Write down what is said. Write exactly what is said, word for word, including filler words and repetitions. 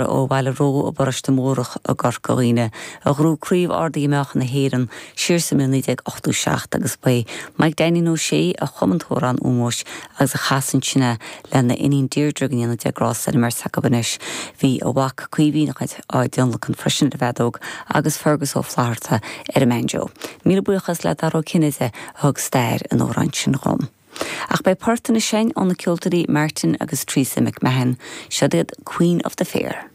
ó Bhaile Ró i bparóiste Mórdhach i gCorca Dhuibhne a ghnóthaigh Craobh Ard-Mheáchan na hÉireann siar sa mbliain naoi déag ochtó seacht agus ba é Mike Danny Ó Sé a chum an t-amhrán ómóis agus a chas ansin é lena iníon Deirdre go ndéana Dia grásta ar an mbeirt acu anois. Bhí a mhac Caoimhín á dtionlacan freisin ar an bhfeadóg agus Fergus Ó Flatharta ar an mbanjo. Míle buíochas le Dara Ó Cinnéide a thug stair an amhráin sin dhom. Ach beidh port anois ó na ceoltóirí Martin agus Teresa McMahon, seo iad Queen of the Fair.